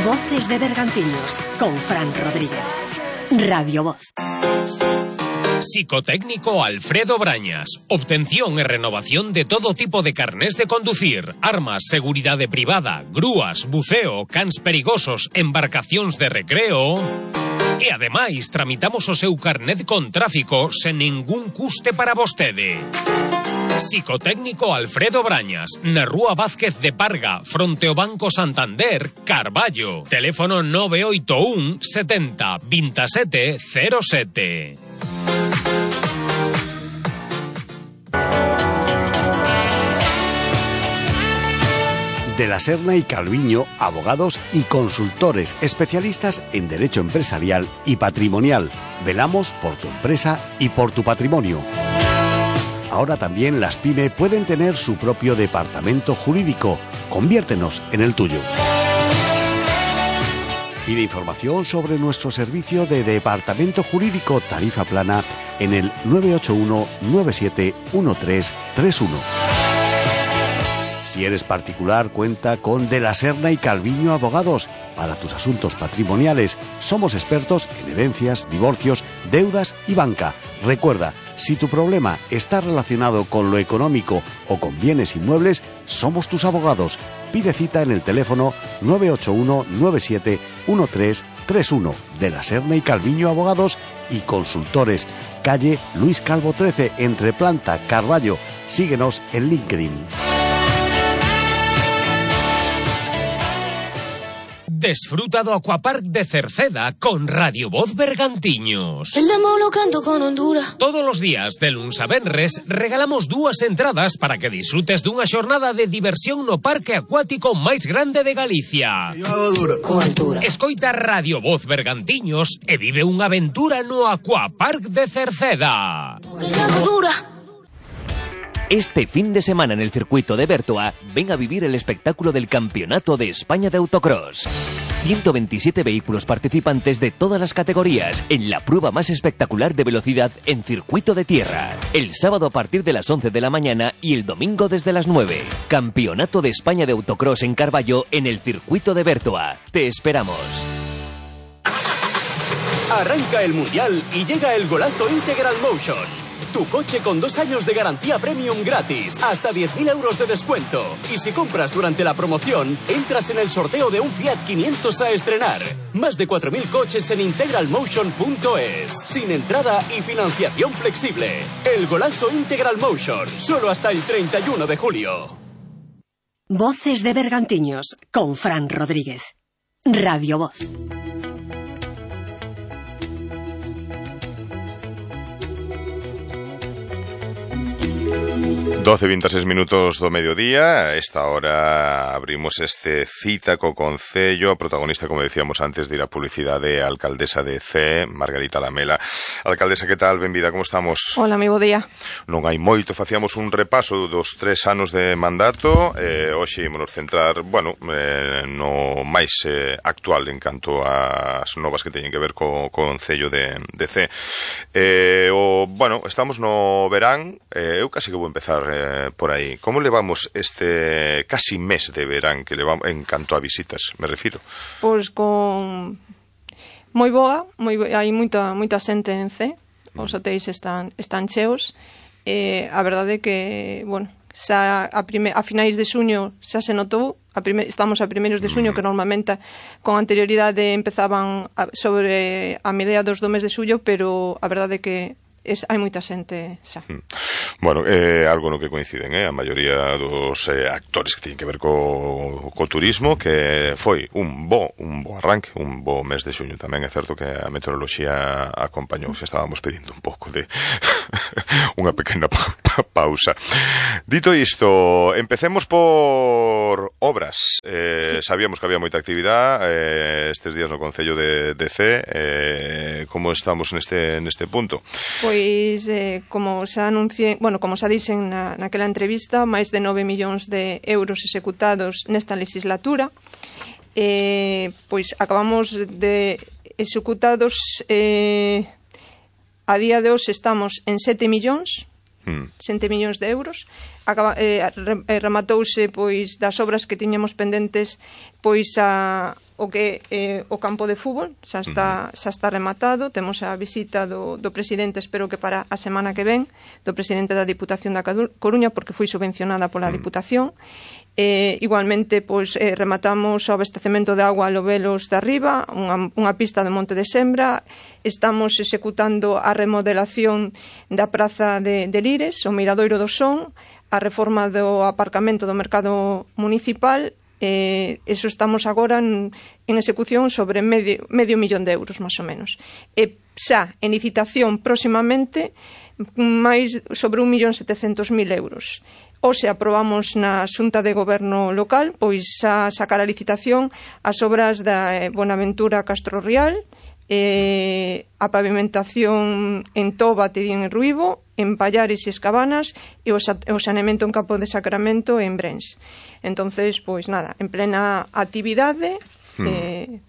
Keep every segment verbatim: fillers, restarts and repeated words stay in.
Voces de Bergantiños, con Fran Rodríguez. Radio Voz. Psicotécnico Alfredo Brañas. Obtención e renovación de todo tipo de carnés de conducir, armas, seguridade privada, grúas, buceo, cans perigosos, embarcacións de recreo. E ademais tramitamos o seu carnet con tráfico sen ningún custe para vostede. Psicotécnico Alfredo Brañas, na Rúa Vázquez de Parga, fronte ao Banco Santander, Carballo. Teléfono nove oito un setenta veintisiete cero sete. De la Serna y Calviño, abogados y consultores especialistas en derecho empresarial y patrimonial. Velamos por tu empresa y por tu patrimonio. Ahora también las pyme pueden tener su propio departamento jurídico. Conviértenos en el tuyo. Pide información sobre nuestro servicio de departamento jurídico tarifa plana en el nueve ocho uno nueve siete uno tres tres uno. Si eres particular, cuenta con De la Serna y Calviño Abogados. Para tus asuntos patrimoniales, somos expertos en herencias, divorcios, deudas y banca. Recuerda, si tu problema está relacionado con lo económico o con bienes inmuebles, somos tus abogados. Pide cita en el teléfono nueve ocho uno nueve siete uno tres tres uno. De la Serna y Calviño Abogados y Consultores. Calle Luis Calvo trece, entre Planta, Carballo. Síguenos en LinkedIn. Desfruta do Aquapark de Cerceda con Radio Voz Bergantiños. El demo lo canto con Honduras. Todos os días, de luns a venres, regalamos dúas entradas para que disfrutes dunha xornada de diversión no parque acuático máis grande de Galicia. Con altura. Escoita Radio Voz Bergantiños e vive unha aventura no Aquapark de Cerceda. Que ya no dura. Este fin de semana en el circuito de Bertoa, ven a vivir el espectáculo del Campeonato de España de Autocross. ciento veintisiete vehículos participantes de todas las categorías en la prueba más espectacular de velocidad en circuito de tierra. El sábado a partir de las once de la mañana y el domingo desde las nueve. Campeonato de España de Autocross en Carballo en el circuito de Bertoa. Te esperamos. Arranca el Mundial y llega el golazo Integral Motion. Tu coche con dos años de garantía premium gratis, hasta diez mil euros de descuento. Y si compras durante la promoción, entras en el sorteo de un Fiat quinientos a estrenar. Más de cuatro mil coches en integral motion punto es. Sin entrada y financiación flexible. El golazo Integral Motion, solo hasta el treinta y uno de julio. Voces de Bergantiños, con Fran Rodríguez. Radio Voz. doce e veintiséis minutos do mediodía. A esta hora abrimos este cita co Concello. A protagonista, como decíamos antes de ir a publicidade, a alcaldesa de Cee, Margarita Lamela. Alcaldesa, que tal? Benvida, como estamos? Hola, moi bo día. Non hai moito, facíamos un repaso dos tres anos de mandato. Eh, hoxe ímonos centrar, bueno, eh, no máis eh, actual en canto ás novas que teñen que ver co, co Concello de, de Cee. Eh, o, bueno, estamos no verán. Eh, eu casi que vou empezar Eh, por aí. Como levamos este casi mes de verán que levamos en canto a visitas, me refiro? Pois con moi boa, moi bo... hai moita moita xente en Cee. Os hotéis están están cheos. Eh, a verdade é que, bueno, xa a, prime... a finais de xuño xa se notou, a prime... estamos a primeiros de xuño, que normalmente con anterioridade empezaban a... sobre a mediados do mes de xullo, pero a verdade é que es... hai moita xente xa. Bueno, é eh, algo no que coinciden, eh, a maioría dos eh, actores que teñen que ver co, co turismo, que foi un bo, un bo arranque, un bo mes de xuño. Tamén é certo que a meteoroloxía acompañou, se estábamos pedindo un pouco de unha pequena pa, pa, pausa. Dito isto, empecemos por obras. Eh, sí. Sabíamos que había moita actividade eh, estes días no Concello de, de Cee. Eh, como estamos neste, neste punto? Pois, eh, como xa anunciei, bueno, como xa dixen na, naquela entrevista, máis de nove millóns de euros executados nesta legislatura. Eh, pois acabamos de executados, eh, a día de hoxe estamos en sete millóns, mm. sete millóns de euros. Acaba, eh, rematouse pois das obras que tiñamos pendentes, pois a o que eh, o campo de fútbol xa está, xa está rematado. Temos a visita do, do presidente, espero que para a semana que ven, do presidente da Diputación da Coruña, porque foi subvencionada pola Diputación. Eh, igualmente, pois, eh, rematamos o abastecemento de agua a Lobelos de Arriba, unha, unha pista de Monte de Sembra. Estamos executando a remodelación da praza de, de Lires, o Miradoiro do Son, a reforma do aparcamento do mercado municipal. Eh, eso estamos agora en, en execución sobre medio, medio millón de euros, máis ou menos. E xa, en licitación próximamente, máis sobre un millón setecentos mil euros. O se aprobamos na Xunta de Goberno local, pois a sacar a licitación as obras da Buenaventura Castro Rial, eh, a pavimentación en Toba, Tedín e Ruibo, en Pallares e Escabanas, e o, o saneamento en Campo de Sacramento e en Brens. Entonces, pois nada, en plena actividade. Hmm. Eh,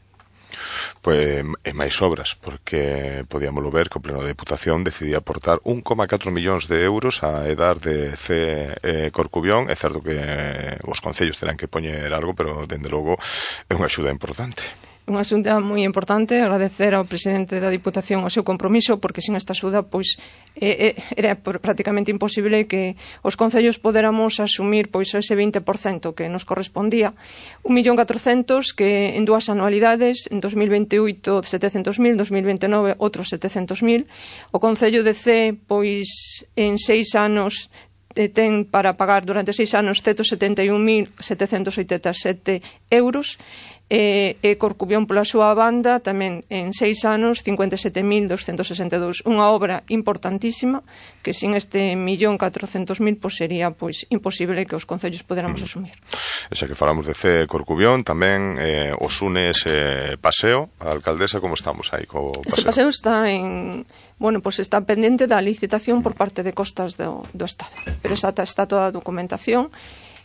Pois e máis obras, porque podíamoslo ver que o Pleno da Diputación decidía aportar un coma catro millóns de euros a edar de C eh, Corcubión. É certo que eh, os concellos terán que poñer algo, pero, dende logo, é unha axuda importante. Unha axuda moi importante, agradecer ao presidente da Diputación o seu compromiso, porque sin esta axuda pois eh, era prácticamente imposible que os concellos poderamos asumir pois ese vinte por cento que nos correspondía. un millón catrocentos que en dúas anualidades, en dos mil veintioito setecentos mil, dos mil veintinueve outros setecentos mil. O Concello de C pois en seis anos ten para pagar durante seis anos ciento setenta e un mil setecentos oitenta e sete euros. E, e Corcubión pola súa banda tamén en seis anos cincuenta e sete mil doscientos sesenta e dous, unha obra importantísima que sin este millón catrocentos mil pois sería pois imposible que os concellos poderamos mm. asumir. Xa que falamos de C Corcubión, tamén eh, os une ese paseo, a alcaldesa, como estamos aí co paseo? Ese paseo está en, bueno, pois está pendente da licitación por parte de Costas do, do Estado, pero está, está toda a documentación.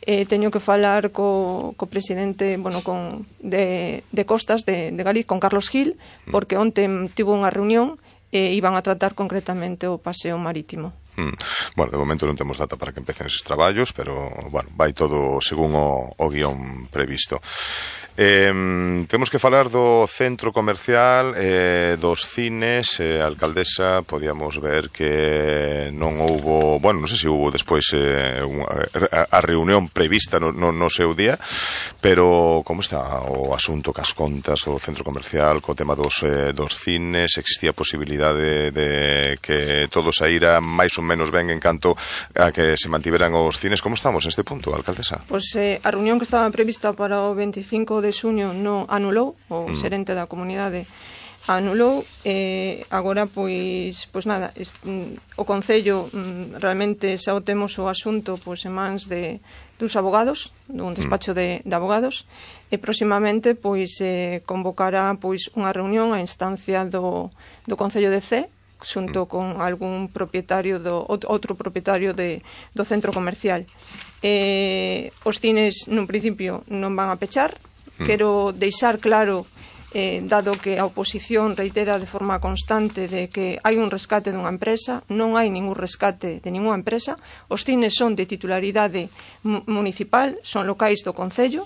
Eh, teño que falar co, co presidente, bueno, con, de, de Costas de, de Galiz, con Carlos Gil, porque onte tivo unha reunión e iban a tratar concretamente o paseo marítimo. Mm. Bueno, de momento non temos data para que empecen eses traballos, pero, bueno, vai todo según o, o guión previsto. Eh, temos que falar do centro comercial, eh, dos cines. eh, alcaldesa, podíamos ver que non houbo, bueno, non sei se houbo despois eh, a, a reunión prevista no, no, no seu día, pero como está o asunto cas contas do centro comercial co tema dos, eh, dos cines? Existía a posibilidade de que todo saíra máis ou menos ben en canto a que se mantiveran os cines? Como estamos neste punto, alcaldesa? Pois eh, a reunión que estaba prevista para o veinticinco de xuño non anulou, o mm. xerente da comunidade anulou. eh, agora pois pois nada, est, o Concello mm, realmente xa o temos o asunto pois en mans de dos abogados, dun despacho de, de abogados, e próximamente pois eh, convocará pois unha reunión a instancia do, do Concello de C, xunto con algún propietario do outro propietario de, do centro comercial. Eh, os cines nun principio non van a pechar. Quero deixar claro, eh, dado que a oposición reitera de forma constante de que hai un rescate dunha empresa, non hai ningún rescate de ninguna empresa. Os cines son de titularidade municipal, son locais do Concello,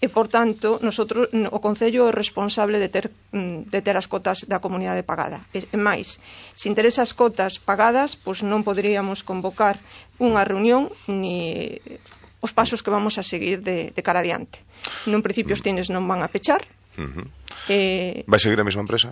e, por tanto, nosotros, o Concello é responsable de ter, de ter as cotas da comunidade pagada. E, máis, sin ter esas cotas pagadas, pois non poderíamos convocar unha reunión ni os pasos que vamos a seguir de, de cara adiante. Nun principio os cines non van a pechar. Uh-huh. eh, Vai seguir a mesma empresa?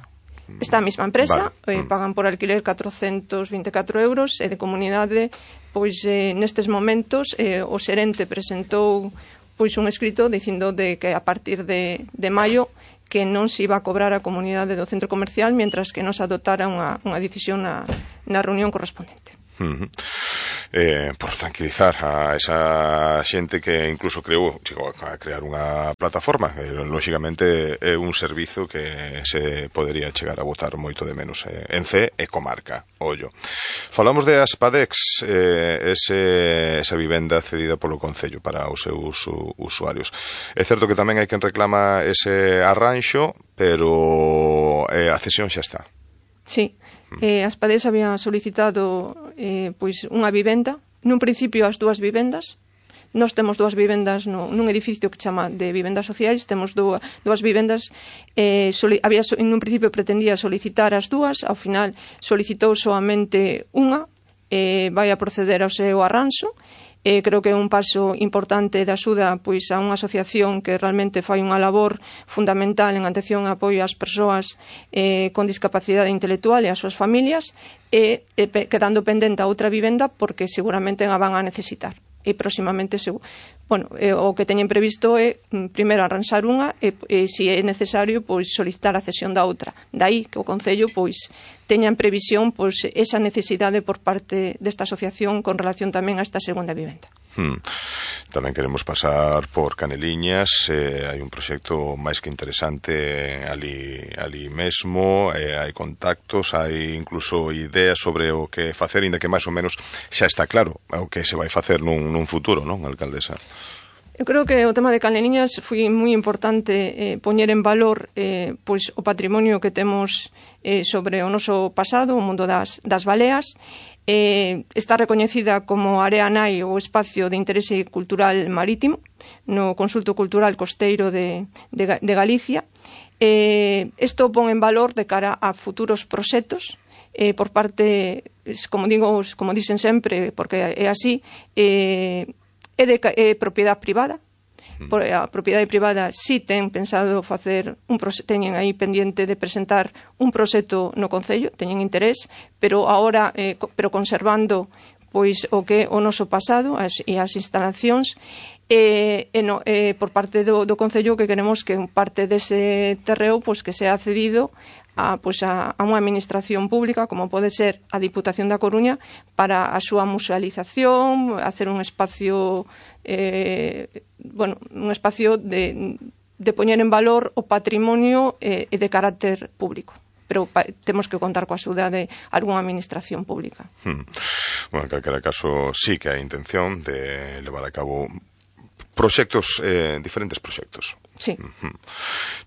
Esta mesma empresa, vale. eh, pagan por alquiler catrocentos vinte e catro euros, e de comunidade, pois eh, nestes momentos eh, o xerente presentou pois un escrito dicindo de que a partir de, de maio que non se iba a cobrar a comunidade do centro comercial mientras que non se adoptara unha, unha decisión na, na reunión correspondente. Uh-huh. Eh, por tranquilizar a esa xente que incluso creou, chegou a crear unha plataforma, que lógicamente é un servizo que se podería chegar a botar moito de menos eh, en C e comarca, ollo. Falamos de Aspadex, eh, ese, esa vivenda cedida polo Concello para os seus usuarios. É certo que tamén hai quen reclama ese arranxo, pero eh, a cesión xa está. Sí, eh, Aspadex había solicitado eh, pois unha vivenda, nun principio as dúas vivendas. Nós temos dúas vivendas no, nun edificio que chama de vivendas sociais, temos dúas, dúas vivendas, eh, soli, había, nun principio pretendía solicitar as dúas, ao final solicitou soamente unha, eh, vai a proceder ao seu arranxo. Eh, creo que é un paso importante de axuda pois, a unha asociación que realmente fai unha labor fundamental en atención e apoio ás persoas eh, con discapacidade intelectual e ás súas familias, e eh, quedando pendente a outra vivenda porque seguramente a van a necesitar. E próximamente, bueno, eh, o que teñen previsto é primeiro arranxar unha e, e se é necesario, pois solicitar a cesión da outra. Daí que o Concello pois teña en previsión pois esa necesidade por parte desta asociación con relación tamén a esta segunda vivenda. Hmm. Tamén queremos pasar por Caneliñas, eh, hai un proxecto máis que interesante ali, ali mesmo, eh, hai contactos, hai incluso ideas sobre o que facer, inda que máis ou menos xa está claro o que se vai facer nun, nun futuro, non, alcaldesa? Eu creo que o tema de Caneliñas foi moi importante eh, poñer en valor eh, pois o patrimonio que temos eh, sobre o noso pasado, o mundo das, das baleas. Eh, está recoñecida como Area Nai, o espacio de interese cultural marítimo, no Consulto Cultural Costeiro de, de, de Galicia. Eh, isto pon en valor de cara a futuros proxectos eh, por parte, como digo, como dicen sempre, porque é así, eh, é de é propiedade privada. Por, a propiedade privada si ten pensado facer un teñen aí pendiente de presentar un proxecto no Concello, teñen interés, pero agora eh, pero conservando pois o que o noso pasado as, e as instalacións e, e no, eh, por parte do, do Concello que queremos que parte dese terreo pois que sea cedido a, pois a, a unha administración pública como pode ser a Diputación da Coruña para a súa musealización, hacer un espacio eh, bueno, un espacio de, de poñer en valor o patrimonio eh, de carácter público. Pero pa, temos que contar coa axuda de algunha administración pública. Hmm. Bueno, en calquera caso, sí que hai intención de levar a cabo proxectos, eh, diferentes proxectos. Sí. Uh-huh.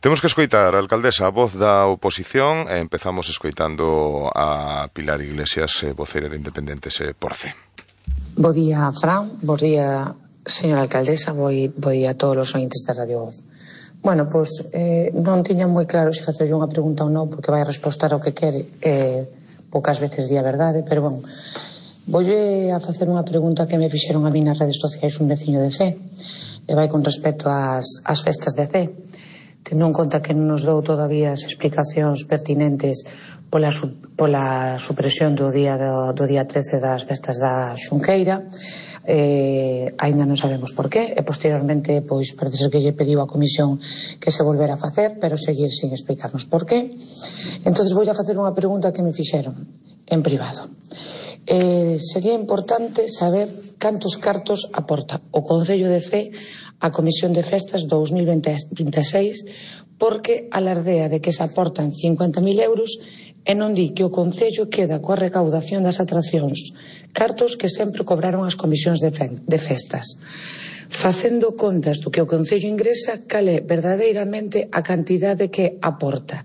Temos que escoitar, alcaldesa, a voz da oposición, e empezamos escoitando a Pilar Iglesias, eh, voceira de Independentes eh, por C. Bo día, Fran, bo día, señora alcaldesa, bo, bo día a todos os ointes da Radio Voz. Bueno, pois eh, non tiña moi claro se facerlle unha pregunta ou non, porque vai a respostar ao que quere, eh, poucas veces di a verdade, pero bon, voulle a facer unha pregunta que me fixeron a mí nas redes sociais un veciño de C, e vai con respecto ás, ás festas de C. Tendo en conta que non nos dou todavía as explicacións pertinentes pola, pola supresión do día do, do día trece das festas da Xunqueira, eh, aínda non sabemos por qué, e posteriormente pois parece ser que lle pediu a comisión que se volvera a facer, pero seguir sin explicarnos por qué. Entonces vou a facer unha pregunta que me fixeron en privado. Eh, sería importante saber cantos cartos aporta o Concello de C a Comisión de Festas dous mil veintiséis, porque alardea de que se aportan cincuenta mil euros e non di que o Concello queda coa recaudación das atraccións, cartos que sempre cobraron as comisións de, fe de festas. Facendo contas do que o Concello ingresa, cal é verdadeiramente a cantidade que aporta.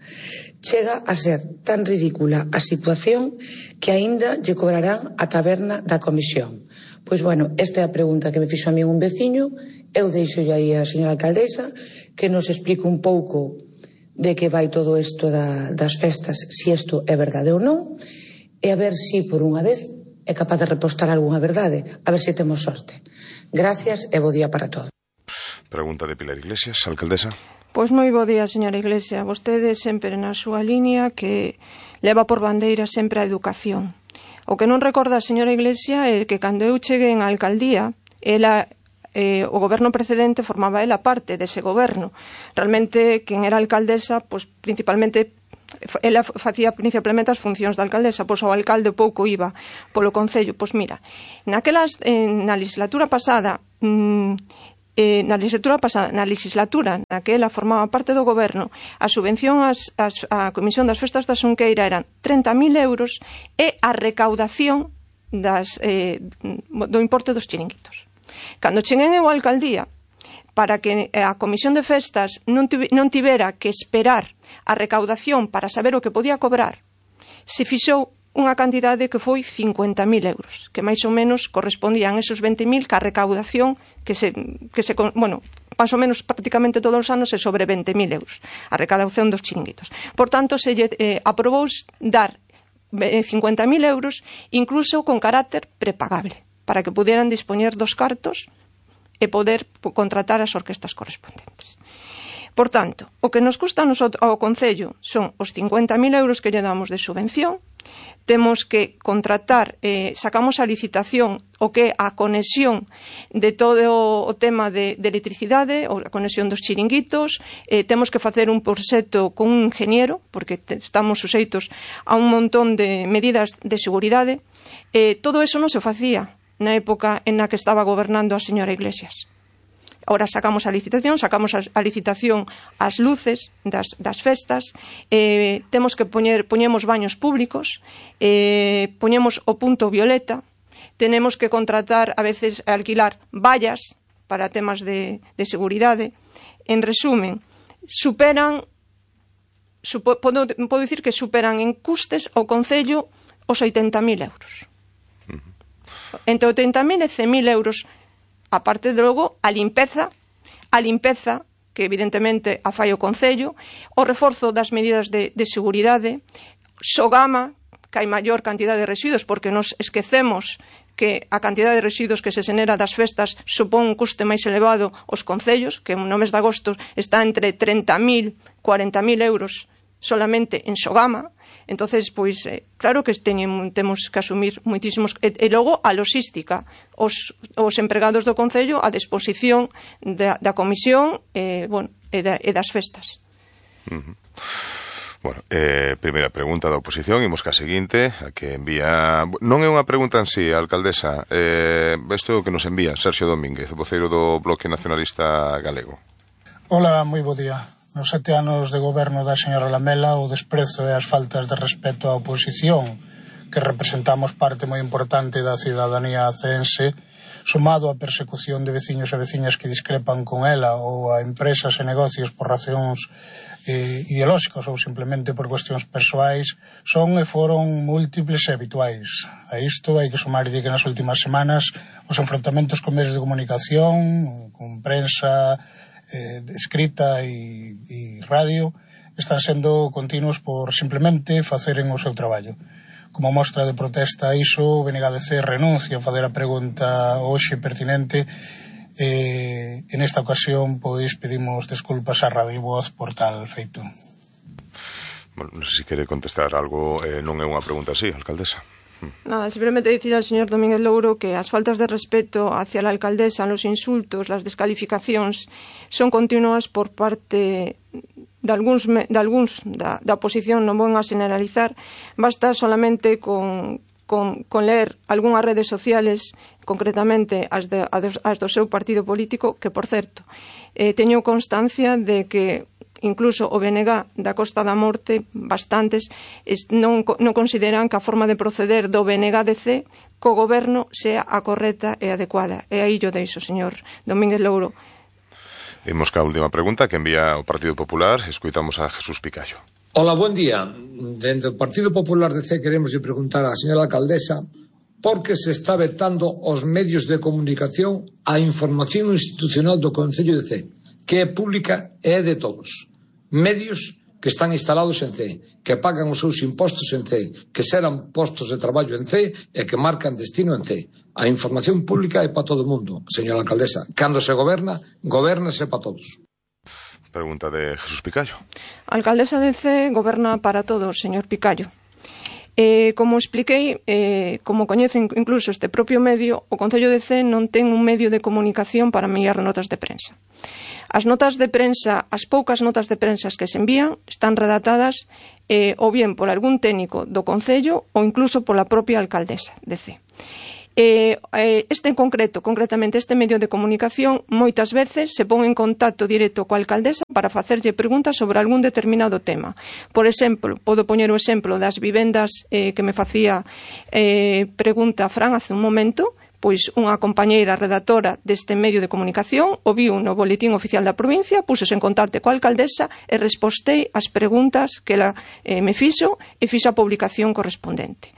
Chega a ser tan ridícula a situación que aínda lle cobrarán a taberna da comisión. Pois, bueno, esta é a pregunta que me fixo a mí un veciño. Eu deixo aí a señora alcaldesa que nos explique un pouco de que vai todo isto da, das festas, se isto é verdade ou non, e a ver se por unha vez é capaz de repostar algunha verdade, a ver se temos sorte. Gracias e bo día para todos. Pregunta de Pilar Iglesias, alcaldesa. Pois moi bo día, señora Iglesia. Vostede sempre na súa liña que leva por bandeira sempre a educación. O que non recorda a señora Iglesia é que cando eu cheguei en a alcaldía, ela, eh, o goberno precedente formaba ela parte dese goberno. Realmente, quen era alcaldesa, pois principalmente ela facía principalmente as funcións da alcaldesa, pois o alcalde pouco iba polo concello. Pois mira, naquelas, eh, na legislatura pasada, mmm, Eh, na legislatura pasada, na legislatura na que ela formaba parte do goberno, a subvención ás, ás, a Comisión das Festas da Xunqueira eran treinta mil euros e a recaudación das, eh, do importe dos chiringuitos. Cando cheguei eu a alcaldía, para que a Comisión de Festas non, non tivera que esperar a recaudación para saber o que podía cobrar, se fixou unha cantidade que foi cincuenta mil euros, que máis ou menos correspondían esos vinte mil ca recaudación que se, que se, bueno, máis ou menos prácticamente todos os anos é sobre vinte mil euros a recaudación dos chiringuitos. Por tanto, se lle eh, aprobou dar cincuenta mil euros incluso con carácter prepagable, para que pudieran dispoñer dos cartos e poder contratar as orquestas correspondentes. Por tanto, o que nos custa ao Concello son os cincuenta mil euros que lle damos de subvención. Temos que contratar, eh, sacamos a licitación o que é a conexión de todo o tema de, de electricidade, ou a conexión dos chiringuitos, eh, temos que facer un proxecto con un ingeniero, porque te, estamos suxeitos a un montón de medidas de seguridade. Eh, todo eso non se facía na época en na que estaba gobernando a señora Iglesias. Ahora sacamos a licitación, sacamos a, a licitación as luces das, das festas, eh, temos que poñer, poñemos baños públicos, eh, poñemos o punto violeta, tenemos que contratar, a veces, alquilar vallas para temas de, de seguridade. En resumen, superan, supo, podo, podo dicir que superan en custes ao Concello os oitenta mil euros. Entre oitenta mil e cen mil euros. Aparte de logo, a limpeza, a limpeza, que evidentemente a fai o Concello, o reforzo das medidas de, de seguridade, Sogama, que hai maior cantidad de residuos, porque nos esquecemos que a cantidad de residuos que se xenera das festas supón un custe máis elevado aos concellos, que no mes de agosto está entre treinta mil, cuarenta mil euros solamente en Sogama. Entonces, pois, eh, claro que teñen, temos que asumir moitísimos... E, e logo, a logística, os, os empregados do Concello a disposición da, da comisión eh, bueno, e, da, e das festas. Uh-huh. Bueno, eh, primeira pregunta da oposición, imos ca seguinte, a que envía... Non é unha pregunta en sí, alcaldesa, eh, isto é o que nos envía Sergio Domínguez, voceiro do Bloque Nacionalista Galego. Hola, moi bo día. Nos sete anos de goberno da señora Lamela, o desprezo e as faltas de respeto á oposición, que representamos parte moi importante da cidadanía ceense, sumado á persecución de veciños e veciñas que discrepan con ela ou a empresas e negocios por razóns eh, ideolóxicas ou simplemente por cuestións persoais, son e foron múltiples e habituais. A isto hai que sumar que nas últimas semanas os enfrontamentos con medios de comunicación, con prensa Eh, escrita e, e radio están sendo continuos por simplemente faceren o seu traballo. Como mostra de protesta a iso, o B N G D C renuncia a fazer a pregunta hoxe pertinente. Eh, en esta ocasión, pois, pedimos desculpas á Radio Voz por tal feito. Bueno, non sei se quere contestar algo, eh, non é unha pregunta así, alcaldesa. Nada, simplemente decir al señor Domínguez Louro que as faltas de respeto hacia la alcaldesa, los insultos, las descalificacións son continuas por parte de algúns, de algúns da, da oposición, non vou a generalizar, basta solamente con, con, con leer algunhas redes sociales, concretamente as, de, as do seu partido político, que, por certo, eh, teño constancia de que incluso o B N G da Costa da Morte, bastantes, non, non consideran que a forma de proceder do B N G D C co goberno sea a correcta e adecuada. E aí yo deixo, señor Domínguez Louro. Imos ca última pregunta que envía o Partido Popular. Escoitamos a Jesús Picallo. Hola, buen día. Dentro do Partido Popular D C queremos preguntar á señora alcaldesa por que se está vetando os medios de comunicación a información institucional do Concello de Cee, que é pública e é de todos. Medios que están instalados en Cee, que pagan os seus impostos en Cee, que serán postos de traballo en Cee e que marcan destino en Cee. A información pública é para todo o mundo, señora alcaldesa. Cando se goberna, gobernase para todos. Pregunta de Jesús Picallo. A alcaldesa de Cee goberna para todos, señor Picallo. Eh, como expliquei, eh, como coñecen incluso este propio medio, o Concello de Cee non ten un medio de comunicación para enviar notas de prensa. As notas de prensa, as poucas notas de prensa que se envían, están redactadas eh, ou bien por algún técnico do Concello ou incluso pola propia alcaldesa de Cee. Eh, este en concreto, concretamente este medio de comunicación, moitas veces se pon en contacto directo coa alcaldesa para facerlle preguntas sobre algún determinado tema. Por exemplo, podo poñer o exemplo das vivendas eh, que me facía eh, pregunta Fran hace un momento. pois unha compañeira redactora deste medio de comunicación o viu no boletín oficial da provincia, puxose en contacto coa alcaldesa e respostei as preguntas que ela eh, me fixo e fixo a publicación correspondente.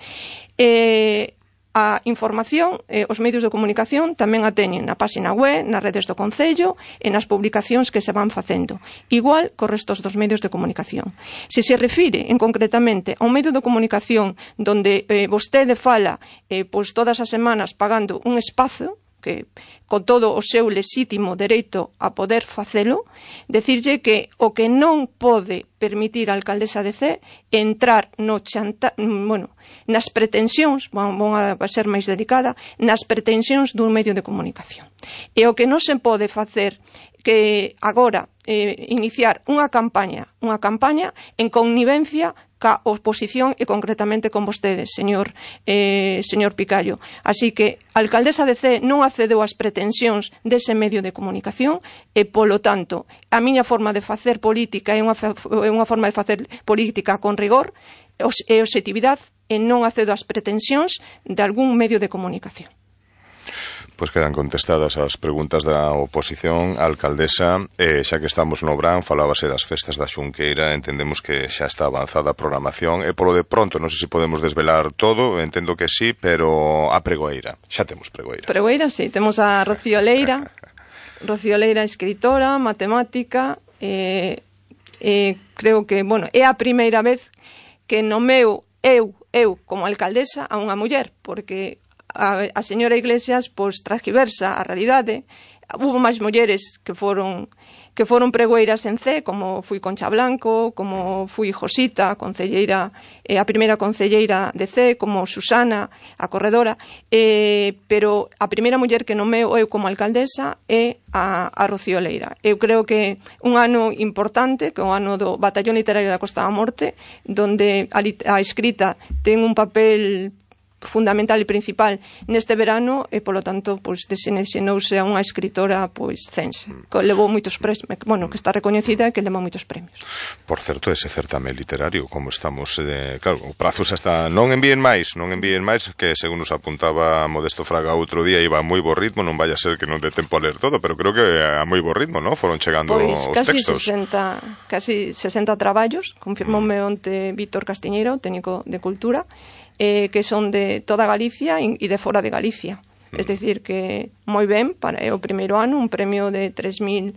E a información, eh, os medios de comunicación tamén a teñen na página web, nas redes do Concello e nas publicacións que se van facendo, igual co restos dos medios de comunicación. Se se refire en concretamente a un medio de comunicación donde eh, vostede fala eh, pois todas as semanas pagando un espazo, que con todo o seu lexítimo dereito a poder facelo, decirlle que o que non pode permitir a alcaldesa de Cee entrar no chanta, bueno, nas pretensións, van a ser máis delicada, nas pretensións dun medio de comunicación. E o que non se pode facer que agora eh, iniciar unha campaña, unha campaña en connivencia ca oposición e concretamente con vostedes, señor eh, señor Picallo. Así que a alcaldesa de Cee non accedeu ás pretensións dese medio de comunicación e, polo tanto, a miña forma de facer política é unha, é unha forma de facer política con rigor e objetividade e non accedo ás pretensións de algún medio de comunicación. Pois quedan contestadas as preguntas da oposición. Alcaldesa, eh, xa que estamos no Brán, falábase das festas da Xunqueira, entendemos que xa está avanzada a programación, e polo de pronto, non sei se podemos desvelar todo, entendo que sí, pero a pregoeira, xa temos pregoeira. Pregoeira, sí, temos a Rocío Leira, Rocío Leira, escritora, matemática, e eh, eh, creo que, bueno, é a primeira vez que nomeo eu, eu como alcaldesa a unha muller, porque a, a señora Iglesias pois transgiversa a realidade. Hubo máis mulleres que foron que foron pregoeiras en Cee, como fui Concha Blanco, como fui Josita, concelleira, eh, a primeira concelleira de Cee, como Susana, a corredora, eh, pero a primeira muller que nomeo eu como alcaldesa é a, a Rocío Leira. Eu creo que un ano importante, que é o ano do Batallón Literario da Costa da Morte, donde a, a escrita ten un papel fundamental e principal neste verano e, polo tanto, pois desinexenouse a unha escritora pois cense, que levou moitos premios, bueno, que está recoñecida e que levou moitos premios. Por certo, ese certame literario, como estamos, eh, claro, o prazo xa está, non envíen máis, non envíen máis, que según nos apuntaba Modesto Fraga outro día, iba a moi bo ritmo, non vai a ser que non dé tempo a ler todo, pero creo que a moi bo ritmo, non? Foron chegando pois, os casi textos. sesenta, casi sesenta traballos, confirmoume onte Víctor Castiñeiro, técnico de Cultura, Eh, que son de toda Galicia e de fora de Galicia. Mm. Es decir, que moi ben, para o primeiro ano, un premio de tres mil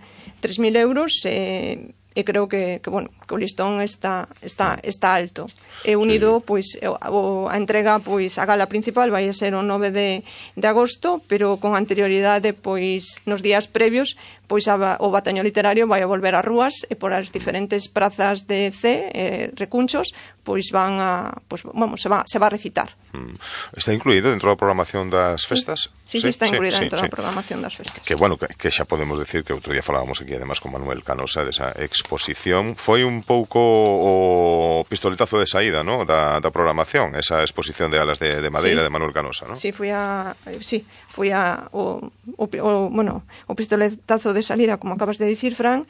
euros, e, e creo que, que, bueno, que o listón está, está, está alto. E unido, pois, o, a entrega, pois, a gala principal vai a ser o nove de, de agosto, pero con anterioridade, pois, nos días previos, pois a, o Batallón Literario vai a volver ás rúas e por as diferentes prazas de Cee, eh, recunchos, pois van a, pois, vamos, se va, se va a recitar. Mm. Está incluído dentro da programación das festas? Sí, sí, sí, está incluída sí, dentro sí, da sí. programación das festas. Que, bueno, que, que xa podemos decir que outro día falábamos aquí, además, con Manuel Canosa, desa exposición. Foi un pouco o pistoletazo de saída, ¿no?, da, da programación, esa exposición de alas de, de madeira sí. de Manuel Canosa, ¿no? Sí, fui a, sí, fui a o, o, o, bueno, o pistoletazo de salida, como acabas de dicir, Fran.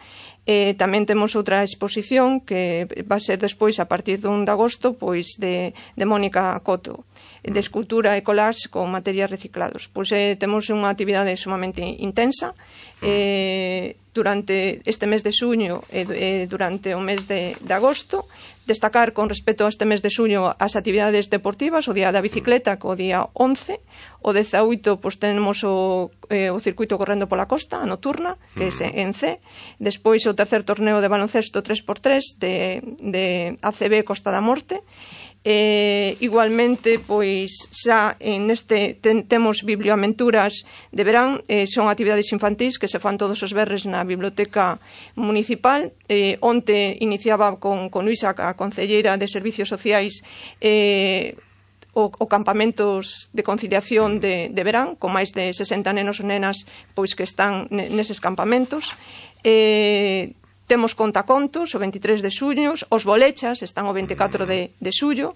Eh, tamén temos outra exposición que va a ser despois, a partir dun de agosto, pois de, de Mónica Coto, de escultura e collage con materiais reciclados. Pois eh, temos unha actividade sumamente intensa eh, durante este mes de xuño e eh, durante o mes de, de agosto. Destacar con respecto a este mes de xuño as actividades deportivas, o día da bicicleta, co día once, o dezaoito, pois tenemos o, eh, o circuito correndo pola costa, a nocturna, que é en Cee, despois o tercer torneo de baloncesto tres por tres de, de A C B Costa da Morte. Eh, igualmente, pois xa en este ten, temos biblioaventuras de verán, eh, son actividades infantís que se fan todos os verres na biblioteca municipal. Eh, onte iniciaba con, con Luisa, a concelleira de Servicios Sociais, eh, o, o campamentos de conciliación de, de verán, con máis de sesenta nenos e nenas pois que están neses campamentos. Eh, temos contacontos o veintitrés de xuño, os bolechas están o veinticuatro de, de xullo.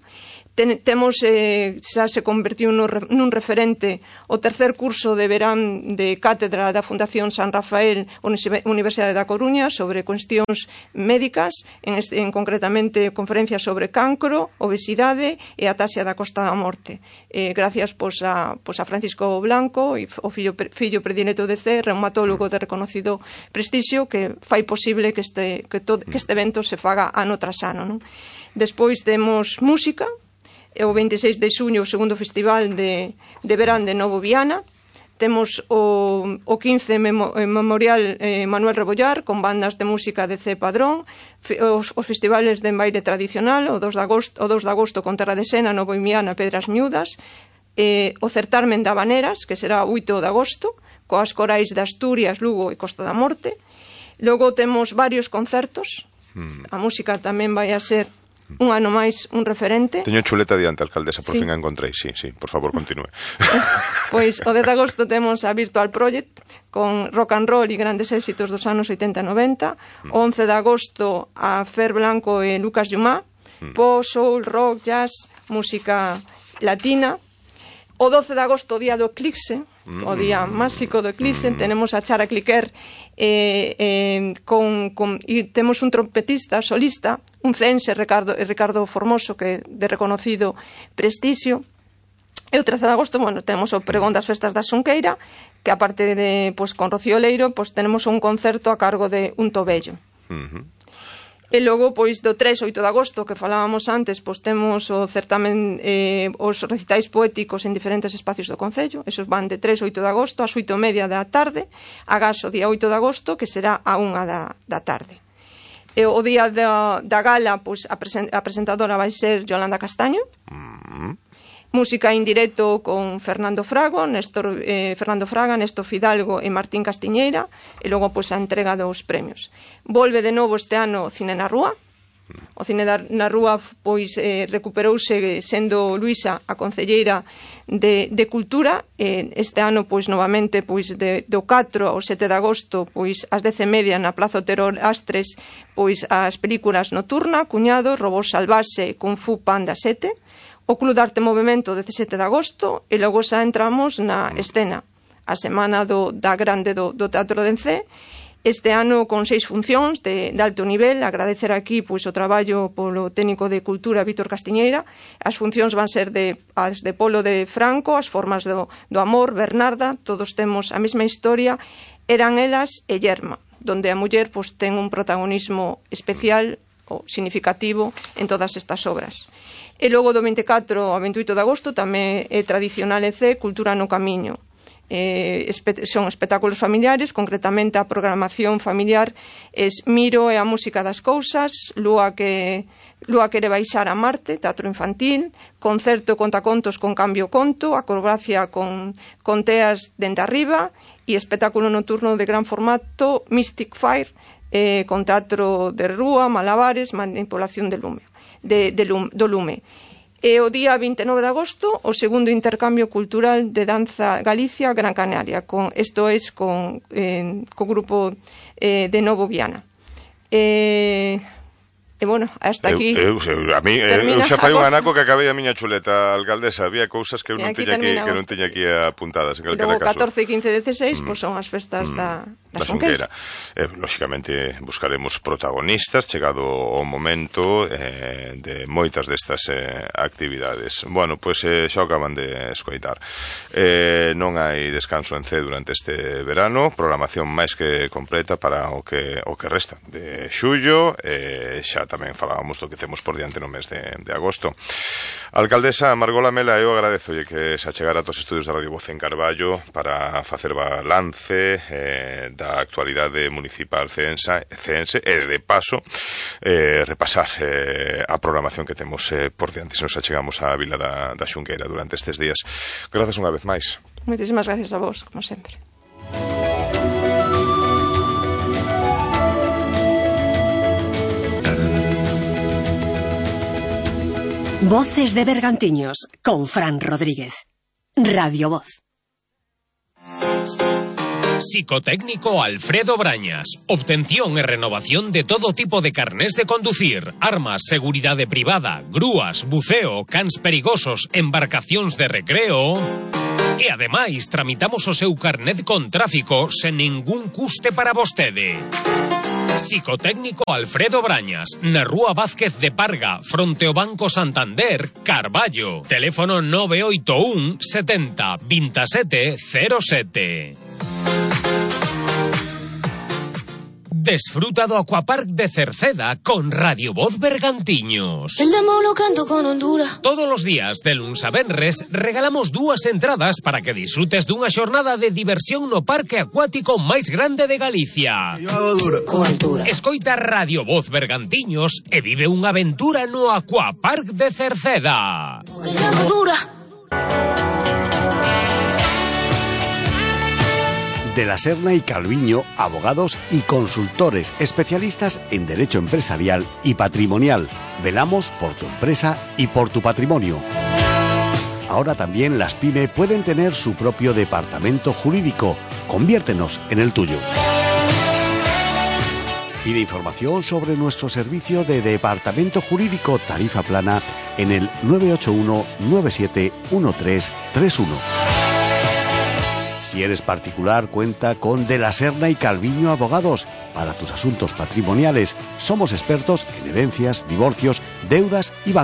Ten, temos, eh, xa se convertiu nun, nun referente o tercer curso de verán de cátedra da Fundación San Rafael Universidade da Coruña sobre cuestións médicas, en, este, en concretamente conferencias sobre cancro, obesidade e a taxa da costa da morte. Eh, gracias pois, a, pois, a Francisco Blanco, o fillo, fillo predileto de C, reumatólogo de reconocido prestixio, que fai posible que este, que, todo, que este evento se faga ano tras ano, non? Despois temos música, o veintiséis de xuño o segundo festival de, de verán de Novo Viana. Temos o, o quince memo, eh, Memorial eh, Manuel Rebollar con bandas de música de C Padrón, os, os festivales de baile tradicional o dos de agosto, o dos de agosto con Terra de Sena, Novo Viana, Pedras Miúdas, eh, o certamen de Habaneras, que será oito de agosto, coas corais de Asturias, Lugo e Costa da Morte. Logo temos varios concertos, mm. a música tamén vai a ser un ano máis un referente. Teño chuleta diante, alcaldesa, por sí. fin a encontrei. Sí, sí, por favor, continúe. Pois o dez de agosto temos a Virtual Project con rock and roll e grandes éxitos dos anos oitenta e noventa. Mm. O once de agosto a Fer Blanco e Lucas Llumá, mm. pop, soul, rock, jazz, música latina. O doce de agosto, o día do eclipse, mm. o día máxico do eclipse, mm. tenemos a Chara Cliquer eh, eh, con, con, e temos un trompetista solista, un ceense, Ricardo, Ricardo Formoso, que de reconocido prestixio. E o trece de agosto, bueno, temos o pregón das festas da Xunqueira, que aparte de, pues, con Rocío Leiro, pues, tenemos un concerto a cargo de Un Tobello. Mm-hmm. E logo, pois, do tres ao oito de agosto, que falábamos antes, pois temos o certamen, eh, os recitais poéticos en diferentes espacios do Concello. Esos van de tres ao oito de agosto, ás oito e media da tarde, agás o día oito de agosto, que será a unha da, da tarde. E o día da, da gala, pois, a, presen, a presentadora vai ser Yolanda Castaño. Mm-hmm. Música en directo con Fernando Frago, Néstor, eh, Fernando Fraga, Néstor Fidalgo e Martín Castiñeira, e logo pois a entrega dos premios. Volve de novo este ano o Cine na Rúa. O Cine na Rúa pois eh, recuperouse sendo Luisa a concelleira de, de Cultura. Eh, este ano pois novamente pois de, do catro ao sete de agosto pois ás dez e media na Plaza Otero Astres pois as películas Nocturna, Cuñado, Robot Salvase, Kung Fu Panda sete. O Club de Arte Movimento dezasete de agosto e logo xa entramos na escena, a semana do, da grande do, do Teatro de Encé, este ano con seis funcións de, de alto nivel. Agradecer aquí pois, o traballo polo técnico de Cultura Víctor Castiñeira. As funcións van ser de, as de Polo de Franco, As formas do, do amor, Bernarda, todos temos a mesma historia, Eran elas e Yerma, donde a muller pois, ten un protagonismo especial ou significativo en todas estas obras. E logo do veinticuatro ao veintioito de agosto tamén é tradicional en C Cultura no Camiño. Eh, espe son espectáculos familiares, concretamente a programación familiar es Miro e a música das cousas, Lúa que Lúa quere baixar a Marte, teatro infantil, concerto contacontos con Cambio Conto, acrobacia con, con teas dende arriba e espectáculo nocturno de gran formato Mystic Fire, eh, con teatro de rúa, malabares, manipulación de lume. De, de lume, do lume. E o día vinte e nove de agosto o segundo intercambio cultural de danza Galicia Gran Canaria, con isto é con eh, co grupo eh, de Novo Viana. Eh, e bueno, hasta aquí eu, eu, a mí, eu xa fai un anaco que acabei a miña chuleta, alcaldesa. Había cousas que eu non teña aquí, que non teña aquí apuntadas en calquera caso. catorce, quince, dezasseis mm. pois son as festas mm. da da Xunqueira. Eh, lóxicamente buscaremos protagonistas chegado o momento eh, de moitas destas eh, actividades. Bueno, pois eh, xa o acaban de escoitar. Eh, non hai descanso en C durante este verano, programación máis que completa para o que o que resta de xullo, eh, xa tamén falábamos do que temos por diante no mes de, de agosto. Alcaldesa Margot Lamela, eu agradezo que se achegara aos estudios da Radio Voz en Carballo para facer balance eh, da actualidade municipal ceense, ceense e de paso eh, repasar eh, a programación que temos eh, por diante se nos achegamos á Vila da, da Xunqueira durante estes días. Grazas unha vez máis. Moitísimas gracias a vos, como sempre. Voces de Bergantiños con Fran Rodríguez. Radio Voz. Psicotécnico Alfredo Brañas. Obtención y renovación de todo tipo de carnés de conducir, armas, seguridad privada, grúas, buceo, cans perigosos, embarcacións de recreo. E ademais tramitamos o seu carnet con tráfico sen ningún custe para vostede. Psicotécnico Alfredo Brañas, na Rúa Vázquez de Parga, fronte ao Banco Santander, Carballo. Teléfono nove oito un setenta veintisiete cero sete. Desfruta do Aquapark de Cerceda con Radio Voz Bergantiños. El demo lo canto con Honduras. Todos os días, de luns a venres, regalamos dúas entradas para que disfrutes dunha xornada de diversión no parque acuático máis grande de Galicia. Yo hago dura con altura. Escoita Radio Voz Bergantiños e vive unha aventura no Aquapark de Cerceda. Que yo hago dura. De la Serna y Calviño, abogados y consultores especialistas en derecho empresarial y patrimonial. Velamos por tu empresa y por tu patrimonio. Ahora también las PYME pueden tener su propio departamento jurídico. Conviértenos en el tuyo. Pide información sobre nuestro servicio de departamento jurídico tarifa plana en el nueve ocho uno nueve siete uno tres tres uno. Si eres particular, cuenta con De la Serna y Calviño Abogados. Para tus asuntos patrimoniales, somos expertos en herencias, divorcios, deudas y bancos.